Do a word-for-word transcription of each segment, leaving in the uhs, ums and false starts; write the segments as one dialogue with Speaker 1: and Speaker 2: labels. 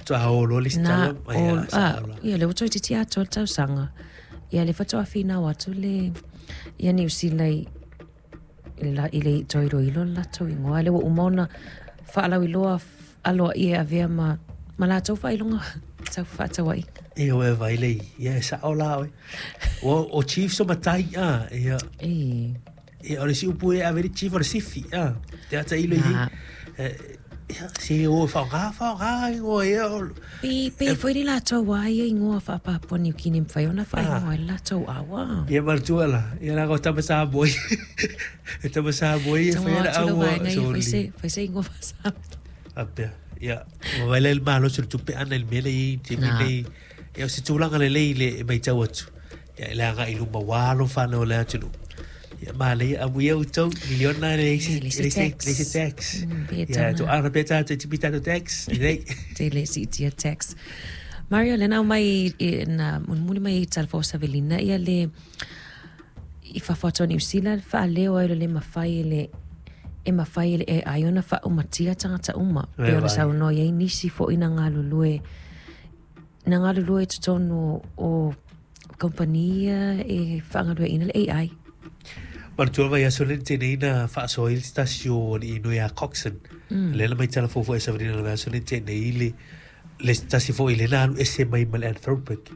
Speaker 1: Faatoa o loa le isi
Speaker 2: Na
Speaker 1: tala
Speaker 2: o
Speaker 1: ia
Speaker 2: a
Speaker 1: sa'o la.
Speaker 2: Ia lea ua toeitiiti atoa le tausaga. Ia le faatoa finau atu le ia Niu Sila i i le i le toe iloilo le latou igoa lea ua uma ona faalauiloa aloaia e avea ma ma latou faailoga tau fefaatauaiga.
Speaker 1: Ia ua e vaai lei, ia e sa'o la oe. Ua o chiefs o matai a, ia
Speaker 2: E
Speaker 1: ia o le isi upu e ave le chief o le sifi a. Te ata ilo i
Speaker 2: na
Speaker 1: ia se o faaaoga faaaoga igoa ia o
Speaker 2: pe pe foi le latou a ia igoa faapapua Niukini e mafai ona faaigoa
Speaker 1: a
Speaker 2: ai le latou aua.
Speaker 1: Ia manatua la, ia leaga o tama Samoa e tama Samoa ia e
Speaker 2: Tago
Speaker 1: faia le
Speaker 2: atu le
Speaker 1: aua
Speaker 2: vaega ia fai
Speaker 1: soli.
Speaker 2: se fai se igoa faa-Samoa.
Speaker 1: Faapea, ia, ua vaai la i le malosi o le tupe ana i le mea lea e i ai i le taimi
Speaker 2: Na
Speaker 1: lenei. Ia o se tulaga lelei i le e matau atu. Ia i le agai i luma ua alo fanau o le atunuu. Ia manaia amuia outou, miliona e leai se
Speaker 2: e le
Speaker 1: e
Speaker 2: se
Speaker 1: leai se leai se
Speaker 2: tax.
Speaker 1: tax.
Speaker 2: Mm, pe
Speaker 1: Ia
Speaker 2: tau na
Speaker 1: toaga pea tatou e tipi tatou tax, lelei.
Speaker 2: te le siitia tax. Mario, lena aumai i, na mulimuli mai i tala fou Savelina ia le i fafo atu o Niu Sila faaleo ai o le le mafai e le e mafai e le A I ona faaumatia tagata uma
Speaker 1: E
Speaker 2: pe ona
Speaker 1: vaai.
Speaker 2: saunoa i ai nisi foi na galulue na galulue i totonu o kompania e faagalueaiina le A I.
Speaker 1: Manatua le vaiaso lea na tea nei na faasoa ai le tasi o alii noi ia Coxon. Lea na mai talafou foi e Savelina i le vaiaso lea na tea nei le le tasi foi lea na alu ese mai ma le Anthropic.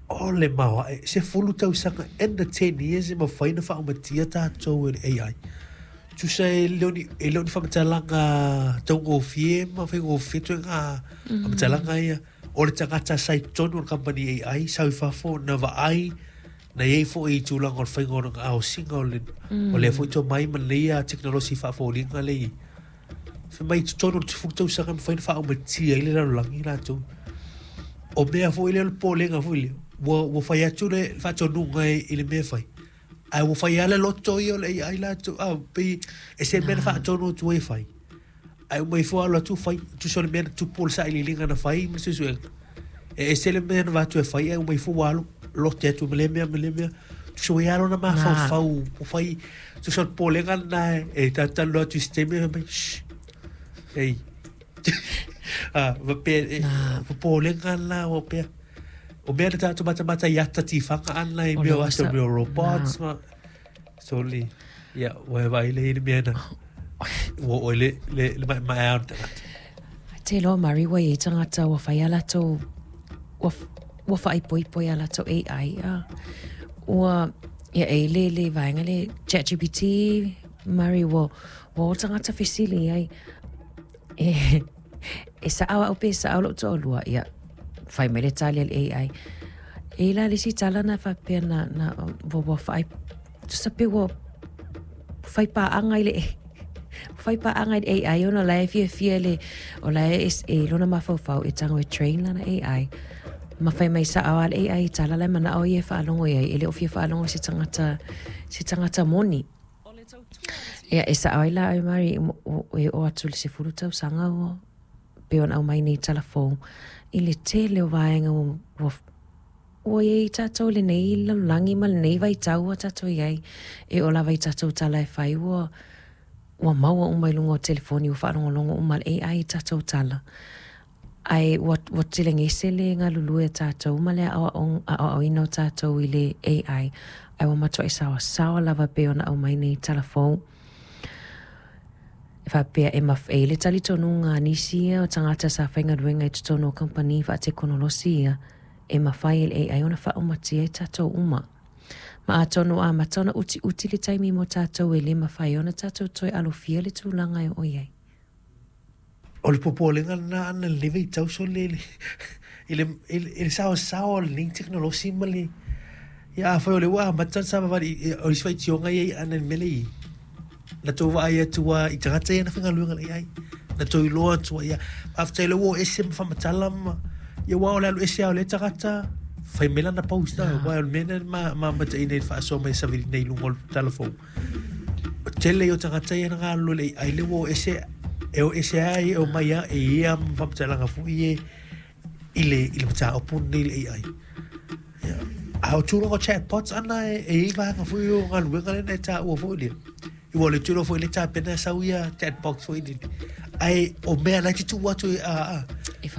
Speaker 1: O le maoae, sefulu tausaga in the ten years e mafai ona faaumatia tatou e le A I. Tusa e le o ni e le o ni faamatalaga taugofie ma faigofie ituaiga faamatalaga ia. O le tagata sa i totonu o le company A I sau i fafo na vaai na iai foi i tulaga o le faiga o le aosiga o le o lea foi tomai ma lenei a tekonolosi faafoliga lea i fai mai i totonu o le sefulu tausaga e mafai ona faaumatia ai le lalolagi latou. O mea foi lea o le popolega foi lea, ua ua fai atu le faatonuga i le mea e fai, ae ua fai lava le loto ia o le A I latou a pei e se mea na
Speaker 2: Na
Speaker 1: faatonu atu ai e fai. Ae uma ifo alu atu fai, tusa o le mea na tupu o le sailiiliga na fai ma le suesuega. E ese le mea na avatu e fai ae uma ifo ua alu lote atu ma lea mea ma lea mea. Tusa ua i ai lava lona
Speaker 2: na
Speaker 1: mafaufau ua fai, tusa o le popolega lena e talatalanoa atu i se taimi fai mai, shh, ei. Ah, faapea e
Speaker 2: na
Speaker 1: popolega lena ua pea. O mea na tatou matamata i ata tifaga ana i
Speaker 2: o
Speaker 1: mea
Speaker 2: le
Speaker 1: o
Speaker 2: ua
Speaker 1: ata
Speaker 2: sa
Speaker 1: o mea o
Speaker 2: na
Speaker 1: robots ma soli. Ia, ua e vaai lea i le mea na ua oo i le le le maemaea o le tagata.
Speaker 2: Te loa Mari ua iai tagata ua fai a latou ua ua faaipoipo ia latou A I a ua ia e le le vaega le ChatGPT Mari ua ua o tagata fesili ai e e sa'o a'u pe sa'o lo'u toalua ia fai mai le tali a le A I e la le isi tala na faapea na na ua ua faai tusa pe ua fai paaga i le fai paaga i le A I ona la e fiafia le o la e e lona mafaufau e tago e train lana A I ma fai mai sa'o a le A I tala la e mana'o ia e faalogo iai e le o fia faalogo i se tagata se tagata moni. Ia e sa'o ai la oe Mari e oo atu i le sefulu tausaga ua pe ona aumai nei talafou i le tele o vaega ua ua ua iai tatou i lenei lalolagi ma lenei vaitau ua tatou iai e oo lava i tatou tala e fai ua ua maua uma i luga o telefoni ua faalogologo uma le A I i tatou tala ae ua ua telegese le galulue a tatou ma le aoaoina o tatou i le A I ae ua matuai saoasaoa lava pei ona aumai nei talafou e faapea e maf e i ai le talitonuga a nisi ia o tagata sa faigaluega i totonu o kamupani faatekonolosi ia e mafai e le A I ona faaumatia ai tatou uma. Ma atonu ua amata ona utiuti le taimi mo tatou e le mafai ai ona tatou toe alofia le tulaga e oo i ai.
Speaker 1: O le popolega lena ana i lenei vaitau sole i le i le i le saoasaoa o lenei tekonolosi ma le ia afai o lea ua amata ona savavali o isi faitioga ia i ana i le mea lea e i ai. Na tou vaai atu lava i tagata ia na faigaluega i le A I. Na tou iloa atu ai lava. Faafetai o lea ua oo ese ma faamatala ma ia aua o le alu ese lava o lea tagata fai mai lana post aua o le mea lena na mamataina i le faasoa mai a Savelina i luga o le talafou. O le tele ia o tagata ia na galulue i le A I lea ua o ese e o ese lava e omai lava e i ai lava ma faamatalaga foi ia i le i le mataupu lenei i le A I. Ia, a o tulaga o chatbots ana e i ai vaega foi o galuega lea na e taua foi lea. Ua o le tulo foi le tapena e sau ia chatbox foi lele. Ae o mea la e te tuu atu e a a